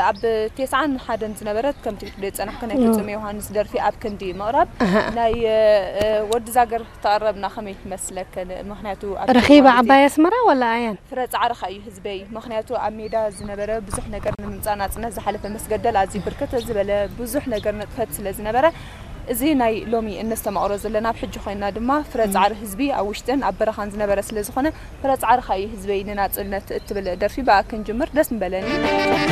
ኣብ ተስዓን ሓደን ዝነበረት ከምቲ ክትሪኦ ዝጸናሕክን ናይ ፍጹም ዮሃንስ ደርፊ ኣብ ክንዲ ምቕራብ ናይ ወዲ ዛገር ተቐረብና ከመይ ትመስለክን? ምኽንያቱ ኣብ ረኺባ ዓባይ ኣስመራ ወላ ኣያን ፍረ ጻዕርኻ እዩ ህዝበይ። ምኽንያቱ ኣብ ሜዳ ዝነበረ ብዙሕ ነገር ንምምጻእ ናጽነት ዝሓለፈ መስገደል ኣዝዩ ብርክት ዝበለ ብዙሕ ነገር ነጥፈት ስለ ዝነበረ እዚ ናይ ሎሚ እነስተማቕሮ ዘለና ኣብ ሕጂ ኮይና ድማ ፍረ ጻዕሪ ህዝቢ ኣብ ውሽጥን ኣብ በረኻን ዝነበረ ስለ ዝኾነ ፍረ ጻዕርኻ እዩ ህዝበይ ንናጽነት እትብል ደርፊ ብኣ ክንጅምር ደስ ምበለኒ።